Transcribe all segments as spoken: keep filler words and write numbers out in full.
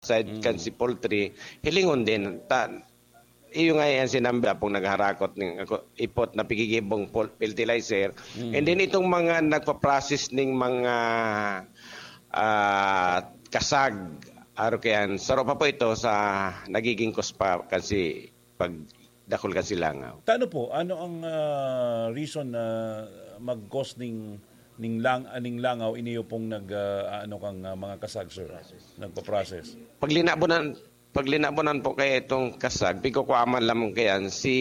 side kan si poultry, hilingon din. Ta, iyo nga yan sinambi pong nagharakot ng ako, ipot na pigigibong pol-, fertilizer. And then itong mga nagpa-process ning mga, ah, kasag, aro kayan, saro pa po ito sa nagiging kuspa kasi pag dakul kan silangaw. Tano po, ano ang, ah, reason na mag-cause ning, ning lang-, ah, ning langaw, iniyo pong nag, ah, ano kang, ah, mga kasag, sir? Nagpa-process? Paglinabonan, paglinabonan po kaya itong kasag, pigkukuaman lamang kayan si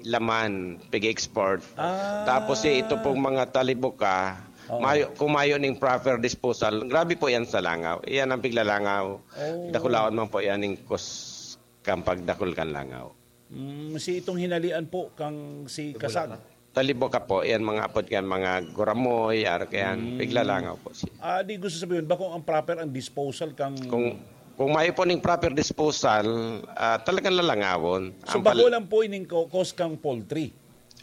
laman, pig-export. Ah. Tapos si ito pong mga talibuka, Oo. mayo, kung mayo ning proper disposal, grabe po yan sa langaw. Iyan ang piglalangaw. Oh. Dakulaon man po yan ning kus-, kan pagdakul kan langaw. Mm, si itong hinalian po kang si Kasag. Talibuka po, yan mga apod yan, mga guramoy, aro kayan, piglalangaw po siya. Ah, di gusto sabihin, bako ang proper ang disposal kang Kung, kung mayo po ning proper disposal, ah, talagang lalangawon. So, Ang pal- bako lang po ining ko-, cause kang poultry?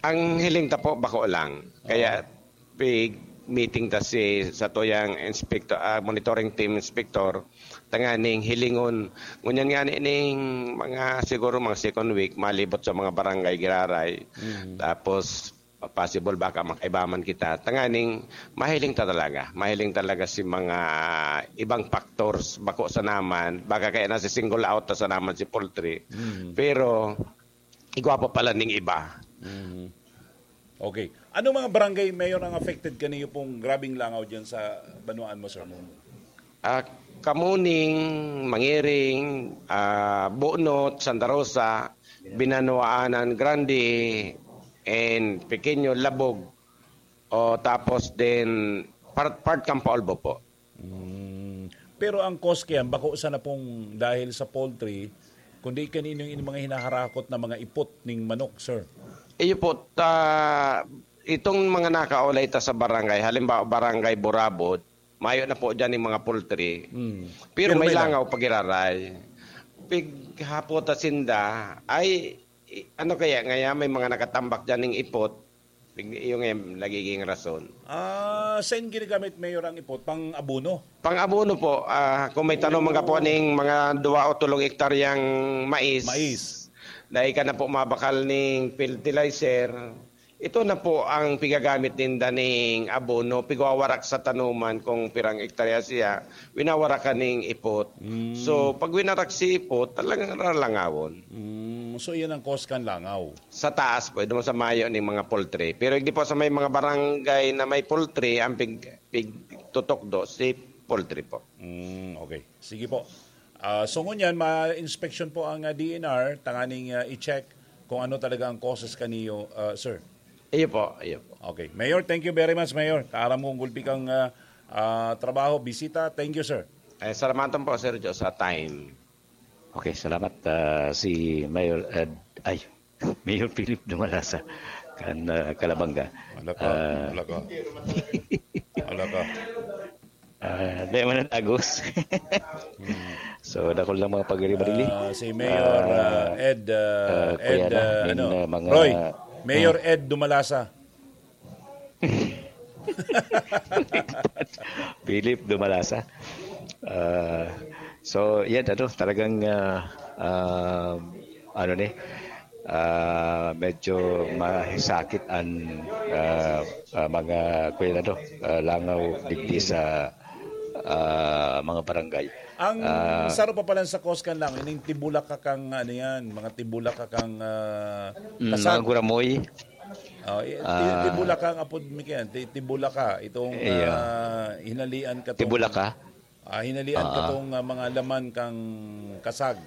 Ang hiling ta po, bako lang. Kaya, Oo. pig-meeting ta si, sa tuyang inspector, ah, monitoring team inspector, tanganing hilingon. Ngunyan nga ni ning mga, siguro mga second week, malibot sa mga barangay giraray. Mm. Tapos, possible baka makaiba man kita. Tanganing mahiling ta talaga. Mahiling talaga si mga ibang factors. Bako sana man, baka kaya nasi-single out ta sana man si poultry. Mm. Pero, igwa pa pala ning iba. Mm. Okay. Anong mga barangay, Mayor, ang affected kaniyo pong grabeng langaw dyan sa banwaan mo, sir? Ah, Kamuning, Mangiring, ah, Bunot, Santa Rosa, Binanuanan Grande, and Pequeño, Labog. O, tapos din, part, part kan Paulbo po. Mm. Pero ang cause kayan, bako sana pong dahil sa poultry, kundi kanino yung mga hinaharakot na mga ipot ning manok, sir? Iyo po, ta, itong mga nakaulay ta sa barangay, halimbawa, Barangay Burabod, mayo na po dyan yung mga poultry. Mm. Pero Pero may may lang- langaw pag-iraray. Pighapot ta sinda, ay, i-, ano kaya, ngaya may mga nakatambak dyan ng ipot, yung, yung nagiging rason. Ah, saan ginagamit, Mayor, ang ipot? Pang-abono? Pang-abono po. Ah, kung may tanom Oo. Mga po ning mga dua o tulong ektaryang mais, Mais. Dahil ka na po mabakal ning fertilizer, ito na po ang pigagamit ninda ning abono, pigwawarak sa tanuman kung pirang ektarya siya, winawarakan ning ipot. Mm. So, pag winarak si ipot, talagang ralangawon. Mm, so, iyan ang cause kan langaw? Sa taas po, doon sa mayo ning mga poultry. Pero hindi po sa may mga barangay na may poultry, ang pig-, pigtutukdo si poultry po. Mm, okay. Sige po. Ah, so ngunyan, ma-inspection po ang, ah, D N R, tanganing, ah, i-check kung ano talaga ang causes kaniyo, ah, sir. Iyo po, iyo po. Okay. Mayor, thank you very much, Mayor. Kaaram kong gulpi kang, ah, ah, trabaho, bisita. Thank you, sir. Eh, salamatan po, Sir Joe, sa time. Okay, salamat, ah, si Mayor Ed, ay, Mayor Philip Dumalasa, kan, ah, Calabanga. Wala ka, Ah, wala ka. Wala ka. Ah, di man ang tagos. Hmm. So, dakul lang mga pagiri-barili. Ah, si Mayor, ah, Ah, Ed, ah, ah, Ed, kuya na, ah, min, ano, ah, mga, Roy, Mayor hmm. Ed Dumalasa. Philip Dumalasa. Ah, so, yan, ano, talagang, ah, ah, ano ni, ah, medyo masakit ang, ah, ah, mga, kuya na to, ah, langaw digdi sa, ah, mga barangay. Ang Ah, saro pa pala sa Coscan lang, ining tibulaka kang, ano yan, mga tibulaka kang, ah, Mm, kasag. Mga guramoy. Oh, i-, ti-, Ah. Tibulaka ang apod mi kayan, ti-, tibulaka. Itong, Iya. Ah, hinalian ka tong, Tibulaka? Ah, hinalian ka Ah. tong, ah, mga laman kang kasag.